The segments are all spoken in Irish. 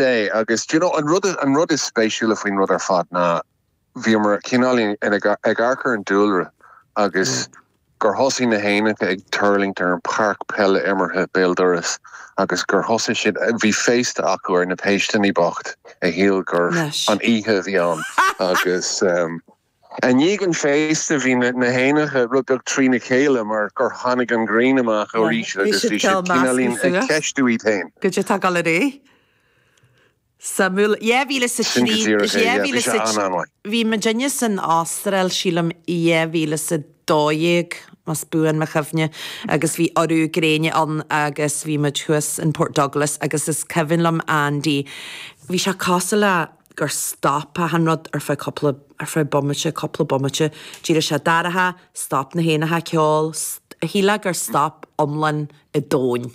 é agus do you know an rud an rud is spéisiúla faoin rud ar fad ná bhíomar cineáilín ag amharc ar an dúlra agus gur thosaigh na héanacha ag tuirlingt ar an páirc peile imeartha béal dorais agus gur thosaigh siad, bhí féasta acu ar na péisteanna bocht a shíl gur an oíche a bhí ann agus i ndiaidh an féasta bhí na héanacha rud beag trína chéile mar gur tháinig an ghrian amach arís agus bhí siad cineáilín ag ceistiú iad féin. Goidé tá ag dul ar aghaidh? Suimiúil. 2003, Sin go díreach é, yeah, bhí sé an-an-mhaith. Bhí muidinne san Astráil, sílim, 2012, más buan mo chuimhne, agus bhí urú gréine ann agus bhí muid thuas in Port Douglas agus is cuimhin liom Andy, bhí sé cosúil le gur stop achan rud ar feadh cúpla, ar feadh bomaite, cúpla bomaite. D'éirigh sé dorcha, stop na héanacha ag ceol, shílfeá gur stop iomlán an domhain.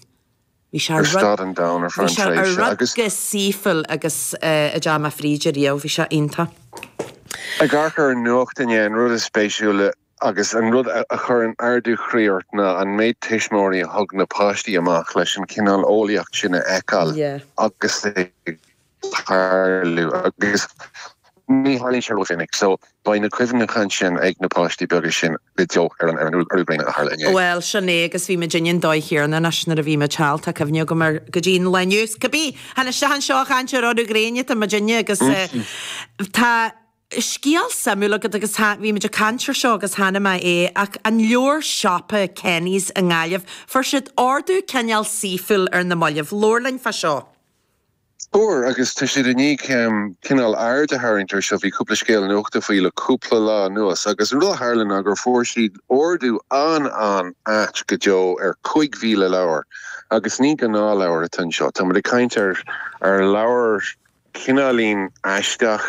Bhí sé Ar stad an domhan ar feadh an tréimhse rud agus. go saoithiúil agus a deachaigh mé fríd ariamh, bhí sé iontach. Ag amharc ar an nuacht inné, an rud is spéisiúla agus an rud a chuireann ardú chroí ort ná an méid tuismitheoirí a thug na páistí amach leis an chineál eolaíocht sin a fheiceáil agus ag tarlú agus ní tharlaíonn sé rómhinic so beidh na cuimhneacháin sin ag na páistí beaga sin go deo ar an urú gréine a tharla inné. Bhuel, sin é agus bhí muidinne an dóigh chéanna anois nuair a bhí muid thall, tá cuimhne agam air go dtí an lá inniu. Cibé, chan isteach anseo a chaint ar urú gréine atá muidinne agus tá scéal suimiúil agat agus bhí muid ag caint ar seo agus chonaic mé é ach an leabhar siopa Kenny's i nGaillimh, fuair siad ordú cineál saoithiúil ar na mallaibh. Labhair linn fá seo. Fuair, agus tá siad i ndiaidh cineál aird a tharraingt air seo, bhí cúpla scéal nuachta faoi le cúpla lá anuas, agus an rud a tharla ná gur fuair siad ordú an-an-ait go deo ar 5,000 leabhar, agus ní gnáthleabhair atá anseo, tá muid ag caint ar ar leabhair cineáilín aisteach,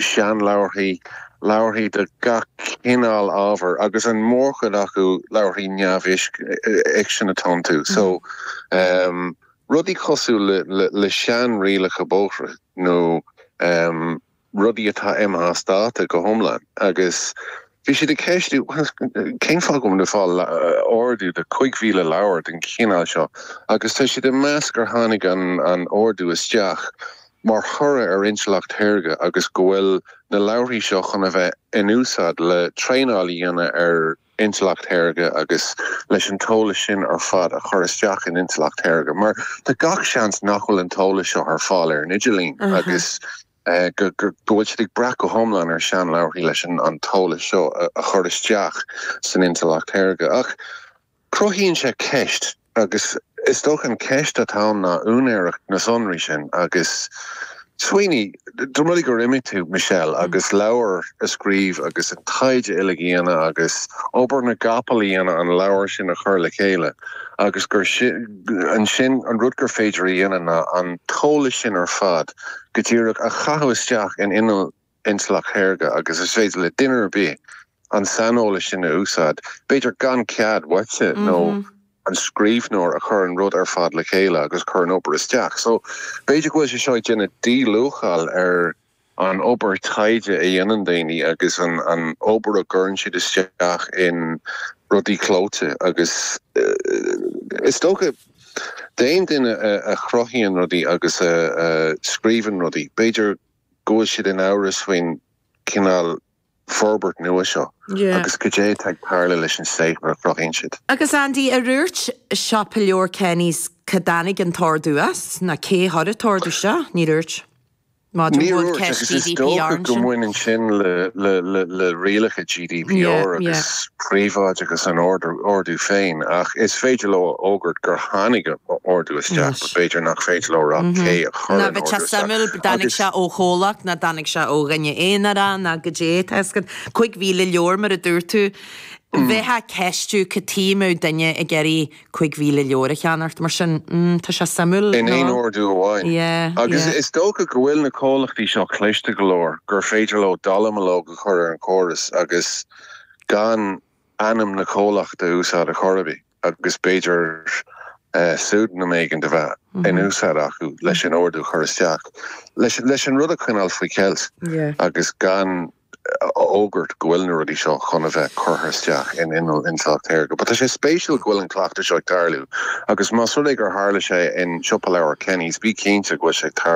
seanleabharthaí, leabharthaí de gach cineál ábhair, agus an mhórchuid acu leabharthaí neamhfhicsin atá iontu. So, rudaí cosúil le seanrialacha bóithre nó rudaí atá imithe as dáta go hiomlán agus bhí siad ag ceistiú cén fáth go bhfuil muid ag fáil ordú de 5,000 leabhar den chineál seo agus tá siad ag meas gur tháinig an ordú isteach mar thoradh ar intleacht shaorga agus go bhfuil na leabharthaí seo chun a bheith in úsáid le traenáil a dhéanamh ar intleacht shaorga agus leis an t-eolas sin ar fad a chur isteach in intleacht shaorga mar tá gach seans nach bhfuil an t-eolas seo ar fáil ar an idirlíon agus go bhfuil siad ag brath go hiomlán ar seanleabharthaí leis an t-eolas seo a chur isteach san intleacht shaorga. Ach cruthaíonn sé ceist Agus is dócha an ceist atá ann ná úinéireacht na sonraí sin agus smaoinigh, dá mba rud é gur imigh tú, Michelle, agus leabhar a scríobh agus an taighde uilig a dhéanamh agus obair na gcapall a dhéanamh an leabhar sin a chur le chéile agus gur ansin an rud gur féidir a dhéanamh ná an t-eolas sin ar fad go díreach a chaitheamh isteach in inneall intleacht shaorga agus is féidir le duine ar bith an saineolas sin a úsáid, b'fhéidir gan cead uaitse nó an scríbhneoir a chuir an rud ar fad le chéile agus chuir an obair isteach. So b'fhéidir go bhfuil sé seo ag déanamh díluacháil ar an obair taighde a dhéanann daoine agus an an obair a gcuireann siad isteach in rudaí clóite agus is dócha d'aon duine a chruthaíonn rudaí agus a scríobhann rudaí, b'fhéidir go bhfuil siad in amhras faoin chineál forbairt nua seo agus cad é atá ag tarlú leis an saothar a chruthaíonn siad. Agus Andy, ar dhúirt siopa leabhar Kenny's cá dtáinig an t-ordú as, ná cé a chuir an t-ordú isteach? Níor dhúirt. Maidir Níor dhúirt, agus is dócha go mbaineann sin le rialacha GDPR agus príobháideachas an ordú féin, ach is féidir leo a fhógairt gur tháinig ordú isteach, but b'fhéidir nach féidir leo a rá cé a chuir an ordú isteach. Ná bheadh sé suimiúil, dtáinig sé ó chomhlacht, ná dtáinig sé ó dhuine aonarach, ná goidé, tá fhios agat, 5,000 leabhar mar a dúirt tú, bheifeá ag ceistiú cad chuige a mbeadh duine ag iarraidh 5,000 leabhar a cheannacht, mar sin, tá sé suimiúil, In aon ordú amháin. Yeah, Agus yeah. is dócha go bhfuil na comhlachtaí seo cliste go leor gur féidir leo dallamullóg a chur ar an chóras agus gan ainm na comhlachta a úsáid a chor ar bith agus b'fhéidir pseudonym éigin a bheith in úsáid acu leis an ordú a chur isteach, leis an rud a choinneáil faoi cheilt agus gan. a fhógairt go bhfuil na rudaí seo chun a bheith curtha isteach in inneall intleacht shaorga. But tá sé spéisiúil go bhfuil an cleachtadh seo ag tarlú agus más rud é gur tharla sé in siopa leabhar Kenny's, bí cinnte go bhfuil sé ag tarlú.